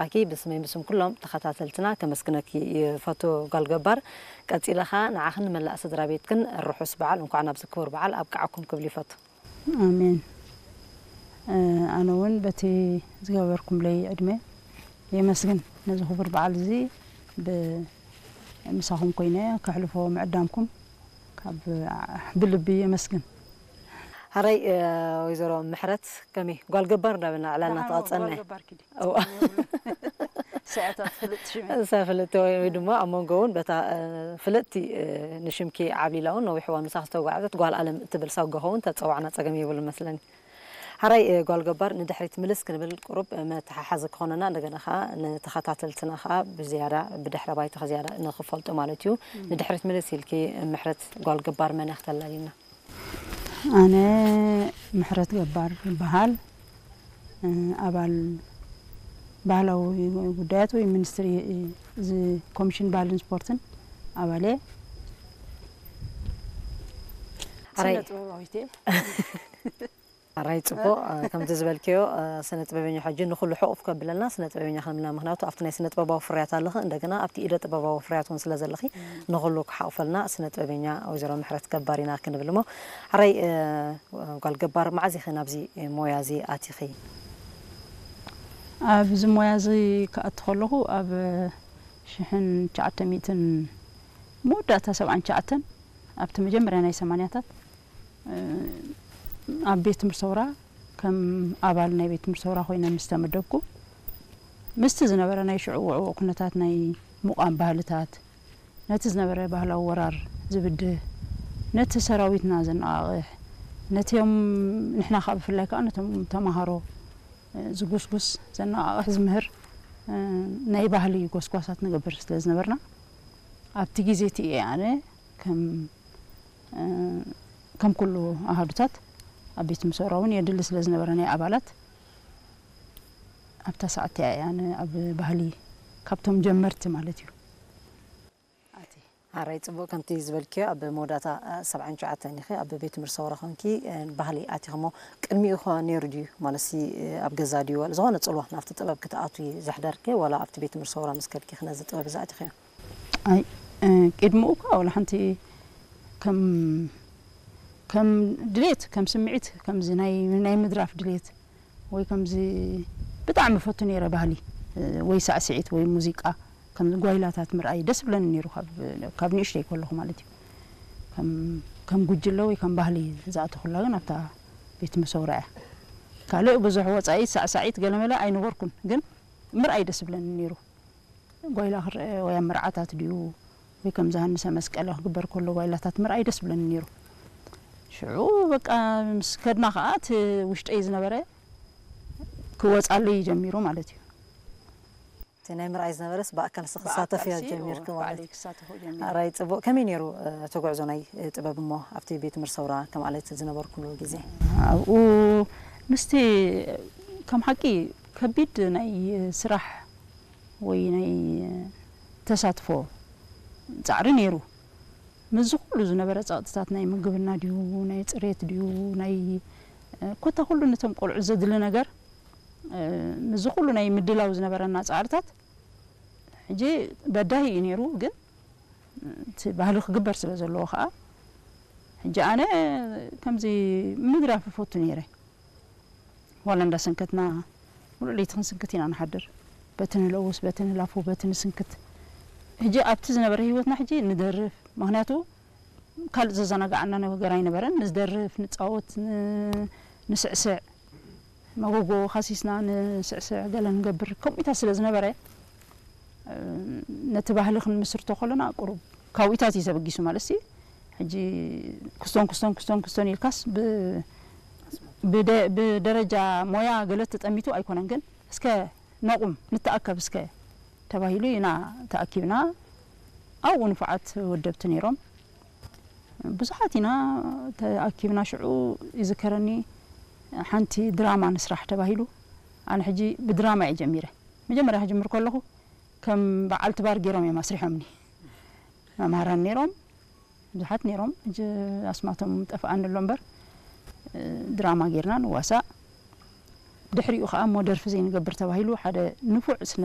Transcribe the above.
ኣኪ ብስመይ ብስም ኩሎም ተኸታተልትና ከመስግነኪ ይፈቱ ጓል ገባር። ቀጺለ ኸኣ ንዓኽን ንመላእ ስድራ ቤትክን ርሑስ በዓል፣ እንኳዕ ናብዚ ክቡር በዓል ኣብቅዓኩም ክብል ይፈቱ። ኣሜን። ኣነ እውን በቲ ዝገበርኩምለይ ዕድመ የመስግን። ነዚ ክቡር በዓል እዚ ብ-፣ ምሳኹም ኮይነ ከሕልፎ ምዕዳምኩም ካብ ብልቢ የመስግን። ሓራይ ወይዘሮ ምሕረት ከመይ ጓል ገባር እንዳበልና ዕላልና ተቐጸልና። እዋ። ስዕታት ፍልጥ ሽመ። እሳ ፍልጥቲ ወይ ወይ ድማ ኣብ መንጎ እውን በታ ፍልጥቲ ንሽምኪ ዓብሊላ እውን ነዊሕ እዋን ምሳኽ ዝተጓዓዘት ጓል ኣለም እትብል ሳጓ ኸውን ተጸዋዕና ጸገም የብሉ መስለኒ። ሓራይ ጓል ገባር ንድሕሪት ምልስ ክንብል ቁሩብ መተሓሓዚ ክኾነና፣ እንደገና ኸዓ ንተኸታተልትና ኸዓ ብዝያዳ ብድሕረ ባይታኺ ዝያዳ ንኽፈልጡ ማለት እዩ። ንድሕሪት ምልስ ኢልኪ ምሕረት ጓል ገባር መን እያ ክተላልይና? ኣነ ምሕረት ገባር ይበሃል። ኣባል ባህላዊ ጉዳያት ወይ ሚኒስትሪ እዚ ኮሚሽን ባህልን ስፖርትን ኣባል እየ። ኣራይ ስነ ጥበባዊት እየ። ኣራይ ጽቡቕ፣ ከምቲ ዝበልክዮ ስነ ጥበበኛ ሕጂ ንኹሉ ሕቑፍ ከብለና ስነ ጥበበኛ ክንብልና፣ ምኽንያቱ ኣብቲ ናይ ስነ ጥበባዊ ፍርያት ኣለኺ፣ እንደገና ኣብቲ ኢደ ጥበባዊ ፍርያት እውን ስለ ዘለኺ ንኹሉ ክሓቑፈልና ስነ ጥበበኛ ወይዘሮ ምሕረት ገባር ኢና ክንብል እሞ። ኣራይ ጓል ገባር፣ መዓዝ ኢኺ ናብዚ ሞያ እዚ ኣቲኺ? ኣብዚ ሞያ እዚ ክኣቱ ከለኹ ኣብ ሽሕን ትሽዓተ ሚእትን መወዳእታ ሰብዓን ትሽዓተን ኣብቲ መጀመርያ ናይ ሰማንያታት ኣብ ቤት ትምህርቲ ሰውራ ከም ኣባል ናይ ቤት ትምህርቲ ሰውራ ኮይነ ምስ ተመደብኩ፣ ምስቲ ዝነበረ ናይ ሽዑ ውዕዉዕ ኩነታት ናይ ምቋም ባህልታት፣ ነቲ ዝነበረ ባህላዊ ወራር ዝብድህ፣ ነቲ ሰራዊትና ዘነቓቕሕ፣ ነቲኦም ንሕና ከኣ ብፍላይ ከኣ ነቶም ተማሃሮ ዝጉስጉስ፣ ዘነቓቕሕ፣ ዝምህር ናይ ባህሊ ጎስጓሳት ንገብር ስለ ዝነበርና፣ ኣብቲ ግዜ እቲ እየ ኣነ ከም ከም ኩሉ ኣሃዱታት ኣብ ቤት ምሰውራ እውን የድሊ ስለ ዝነበረ ናይ ኣባላት ኣብታ ሰዓት እያ ኣነ ኣብ ባህሊ ካብቶም ጀመርቲ ማለት እዩ። ኣቲ ሓራይ ጽቡቕ፣ ከምቲ ዝበልክዮ ኣብ መወዳእታ ሰብዓን ትሽዓተን ኢኺ ኣብ ቤት ትምህርቲ ሰውራ ኮንኪ ባህሊ ኣቲኺ እሞ ቅድሚኡ ኸ ነይሩ ድዩ? ማለትሲ ኣብ ገዛ ድዩ? ዋላ ዝኾነ ጽልዋ ናብቲ ጥበብ ክትኣትዊ ዘሕደርኪ ዋላ ኣብቲ ቤት ትምህርቲ ሰውራ ምስ ከድኪ ነዚ ጥበብ እዚ ኣቲኺዮ? ኣይ ቅድሚኡ እኳ ዋላ ሓንቲ ከም ከም ድሌት ከም ስምዒት ከምዚ ናይ ናይ ምድራፍ ድሌት ወይ ከምዚ ብጣዕሚ ፈቱ ነይረ ባህሊ ወይ ሳዕስዒት ወይ ሙዚቃ ከም ጓይላታት ምርኣይ ደስ ብለኒ ነይሩ ካብ ካብ ንእሽተይ ከለኹ ማለት እዩ። ከም ከም ጉጅለ ወይ ከም ባህሊ ዝኣተኹላ ግን ኣብታ ቤት መሰውራ እያ። ካልእ ብዙሕ ወጻኢ ሳዕሳዒት ገለመለ ኣይነበርኩን ግን ምርኣይ ደስ ብለኒ ነይሩ። ጓይላ ክረአ ወይ ኣብ መርዓታት ድዩ ወይ ከምዚ ሃንሰ መስቀለ ክግበር ከሎ ጓይላታት ምርኣይ ደስ ብለኒ ነይሩ። ሽዑ በቃ ምስ ከድና ከኣ እቲ ውሽጠይ ዝነበረ ክወጻለይ ጀሚሩ ማለት እዩ። እቲ ናይ ምርኣይ ዝነበረስ ብኣካል ስኽሳተፍ እያ ጀሚርክ ማለት እዩ። ኣራይ ጽቡቕ። ከመይ ነይሩ እቲ ጉዕዞ ናይ ጥበብ እሞ ኣብቲ ቤት ትምህርቲ ሰውራ ከም ኣለት ዝነበርኩሉ ግዜ? ኣብኡ ምስቲ ከም ሓቂ ከቢድ ናይ ስራሕ ወይ ናይ ተሳትፎ ጻዕሪ ነይሩ። ምስዚ ኩሉ ዝነበረ ጸቕጥታት ናይ ምግብና ድዩ ናይ ጽሬት ድዩ ናይ ኮታ ኩሉ ነቶም ቆልዑ ዘድሊ ነገር ምስዚ ኩሉ ናይ ምድላው ዝነበረና ጻዕርታት ሕጂ በዳሂ እዩ ነይሩ ግን እቲ ባህሊ ክግበር ስለ ዘለዎ ከዓ ሕጂ ኣነ ከምዚ ምድራፍ እፈቱ ነይረ። ዋላ እንዳሰንከትና ሙሉእ ለይቲ ክንስንክት ኢና ንሓድር። በቲ ንለውስ፣ በቲ ንላፉ፣ በቲ ንስንክት። ሕጂ ኣብቲ ዝነበረ ህይወትና ሕጂ ንደርፍ። ምኽንያቱ ካልእ ዘዘናግዓና ነገር ኣይነበረን። ንደርፍ፣ ንጻወት፣ ን-፣ ንስዕስዕ። መጎጎ ካሲስና ንስዕስዕ ገለ ንገብር። ከምኡታት ስለ ዝነበረ ነቲ ባህሊ ክንምስርቶ ከለና ቁሩብ ካብኢታት እዩ ተበጊሱ ማለት ሲ ሕጂ ክስቶን ክስቶን ክስቶን ክስቶን ኢልካስ ብ-፣ ብደ-፣ ብደረጃ ሞያ ገለ ተጠሚቱ ኣይኮነን ግን እስከ ነቑም ንተኣከብ እስከ ተባሂሉ ኢና ተኣኪብና ኣብኡ ንፉዓት ወደብቲ ነይሮም ብዙሓት ኢና ተኣኪብና ሽዑ ይዝከረኒ ሓንቲ ድራማ ንስራሕ ተባሂሉ ኣነ ሕጂ ብድራማ እየ ጀሚረ መጀመርያ ክጅምር ከለኹ ከም በዓልቲ ባር ገይሮም እዮም ኣስሪሖምኒ መምሃራን ነይሮም ብዙሓት ነይሮም ሕጂ ኣስማቶም ጠፍኣኒ ኣሎ እምበር ድራማ ጌርና ንዋሳእ ድሕሪኡ ከዓ እሞ ደርፊ ዘይንገብር ተባሂሉ ሓደ ንፉዕ ስነ